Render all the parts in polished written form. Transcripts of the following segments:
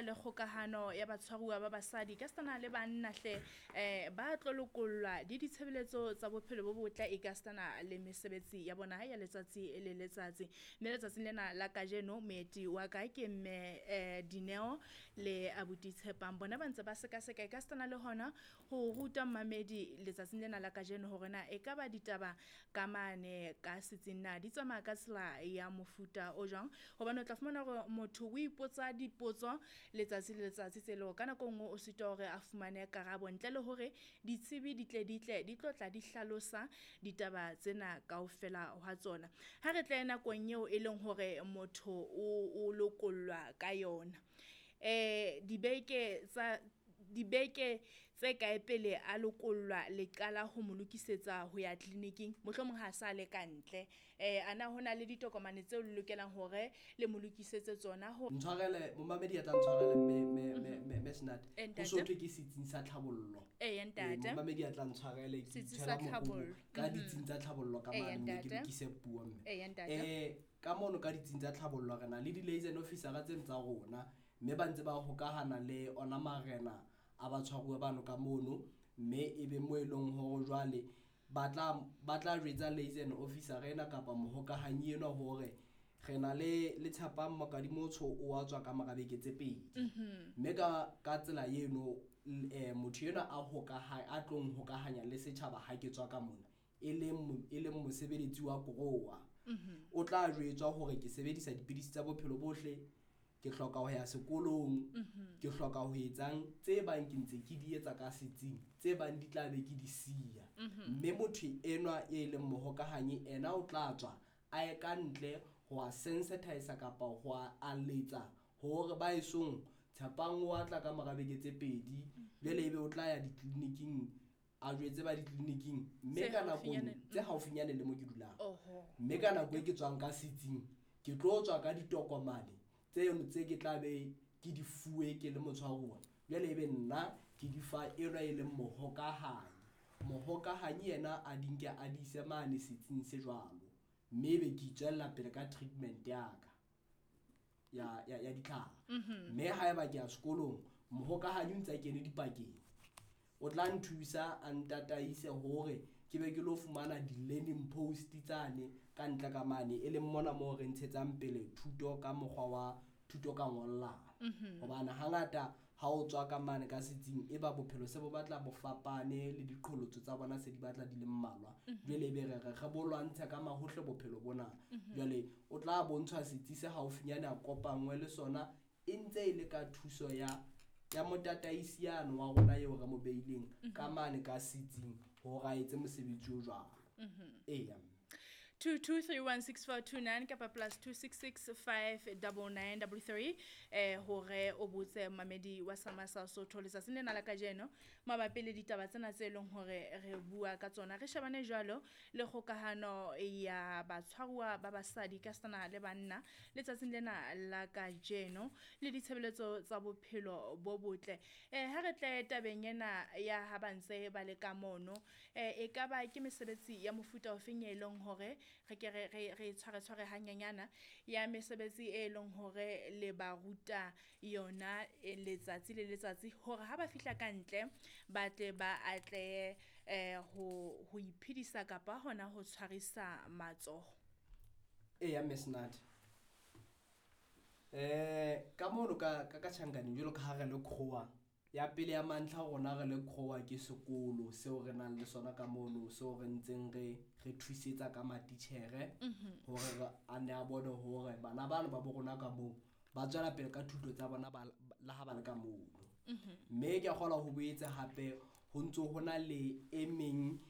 le kgokahano ya batshwaruwa ba basadi ka setana le banna hle ba tlo lokollwa di ditshebeletso tsa bophelo bo botle e ka setana le mesebetsi ya bona ya letsatsi le letsatsi. Mme letsatsing lena la kajeno moeti wa ka ke mme Dineo le abuti Tshepang, bona ba ntse ba sekaseka e ka setana le hona ho ruta mmamedi letsatsing lena la kajeno hore na e ka ba ditaba ka mane ka setsing na di tsamaya ka tsela ya mofuta o jwang, hobane o tla fumana hore motho o ipotsa dipotso letsatsi le letsatsi tse leng ka nako e nngwe o sitwa hore a fumane karabo ntle le hore ditsebi di tle di tle di tlo tla di hlalosa ditaba tsena kaofela hwa tsona. Ha re tle nakong eo e leng hore motho o lokollwa ka yona, dibeke tse kae pele a lokollwa le qala ho mo lokisetsa ho ya tleliniking, mohlomong ha sa le ka ntle, ana hona le ditokomane tseo le lokelang hore le mo lokisetse tsona ho Ntshwarele momamedi ya tla ntshwarele mme Senate. Ho so thwe ke setsing sa tlhabollo. Eya ntate. Momamedi ya tla ntshwarele ke Setsi sa itshwela mokobo tlhabollo. ka ditsing tsa tlhabollo ka Eya, mane mme ke ntate. lokise puo mme. Eya, ntate. Ka mono ka ditsing tsa tlhabollo re na le di-liaison officer tseno tsa rona mme ba ntse ba hokahana le ona marena a batshwaruwa bano ka mono, mme e be mo e leng hore jwale ba tla jwetsa liaison officer ena kapa mohokahanyi enwa hore re na le Tshepang Mokadimotsho o a tswa ka mora beke tse pedi. Mme ka tsela eno, motho enwa a tlong hokahanya le setjhaba ha ke tswa ka mona, e leng mosebeletsi wa koroa. O tla jwetswa hore ke sebedisa dipidisi tsa bophelo bohle, ke hloka ho ya sekolong, ke hloka ho etsang tse bang ke ntse ke di etsa ka setsing, tse bang di tla be ke di siya. Mme motho enwa e leng mohokahanyi ena o tla tswa a ye ka ntle ho a sensitize kapa ho a aletsa hore ba esong Tshepang o a tla ka mora beke tse pedi, jwale ebe o tla ya ditleliniking a jwetse ba ditleliniking mme Tse ka nako haufinyane. tse haufinyane le mo ke dulang. Oho. Mme ka nako e ke tswang ka setsing, ke tlo tswa ka ditokomane tseno tse ke tla be ke di fuwe ke le motshwaruwa. Jwale ebe nna ke di fa enwa e leng mohokahanyi. Mohokahanyi yena a di nke a di ise mane setsing se jwalo, mme ebe ke itswella pele ka treatment ya ka ya ditlhare. Mme haeba ke ya sekolong, mohokahanyi o ntse a kene dipakeng, o tla nthusa a ntataise hore ke be ke lo fumana di-learning post tsane ka ntle ka mane, e leng mona moo re ntshetsang pele thuto ka mokgwa wa thuto ka ngollano. Hobane hangata ha o tswa ka mane ka setsing, e ba bophelo se bo batla bo fapane le diqholotso tsa bona se di batla di le mmalwa. Jwale ebe re re re bo lwantshe ka mahohle bophelo bona. Jwale o tla bontshwa setsi se haufinyane a kopangwe le sona, e ntse e le ka thuso ya motataisi yane wa rona eo re mo beileng ka mane ka setsing hore a etse mosebetsi o jwalo. Eya. 22316429 kapa plus two six six five double nine double three, hore o botse mamedi wa Sama sa Sotho letsatsing lena la kajeno mabapi le ditaba tsena tse leng hore re bua ka tsona. Re shebane jwalo le kgokahano ya batshwaruwa ba basadi ka setana le banna letsatsing lena la kajeno le ditshebeletso tsa bophelo bo botle. Ha re tle tabeng ena ya ha ba ntse ba le ka mono, e ka ba ke mesebetsi ya mofuta ofeng e leng hore re ke re tshware tshware hanyenyana ya mesebetsi e leng hore le ba ruta yona letsatsi le letsatsi hore ha ba fihla ka ntle ba tle ba atlehe, ho iphedisa kapa hona ho tshwarisa matsoho. Eya, Mme Senate. Ka mono ka tjhankaneng jwalo ka ha re le Krowa, ya pele ya mantlha rona re le Krowa ke sekolo seo re nang le sona ka mono, seo re ntseng re thusetsa ka matitjhere hore re a ne a bone hore bana bano ba bo rona ka moo ba tswela pele ka thuto tsa bona le ha ba le ka mono. Mme ke a kgolwa ho boetse hape ho ntso ho na le e meng,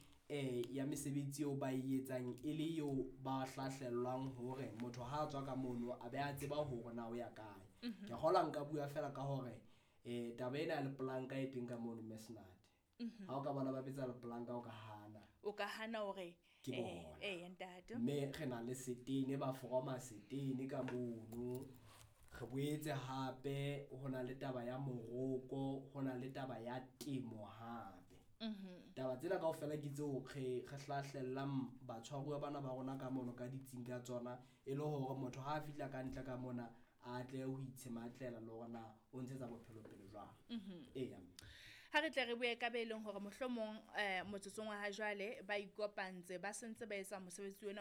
ya mesebetsi eo ba e etsang e le eo ba hlahlellwang hore motho ha a tswa ka mono a be a tseba hore na o ya kae. Ke kgolwa nka bua fela ka hore, taba ena ya lepolanka e teng ka mono, Mme Senate. Ha o ka bona ba betsa lepolanka, o ka hana. O ka hana hore, Ke bona. ntate. Mme re na le setene, ba foroma setene ka mono. Re boetse hape ho na le taba ya moroko, ho na le taba ya temo hape. Taba tsena kaofela ke tseo re hlahlellang batshwaruwa bana ba rona ka mono ka ditsing ka tsona, e le hore motho ha a fihla ka ntle ka mona a tle ho itshematlela le hore na o ntshetsa bophelo pele jwang. Eya. Ha re tle re bue ka be leng hore mohlomong motsotsong wa ha jwale ba ikopantse, ba sentse ba etsa mosebetsi ona.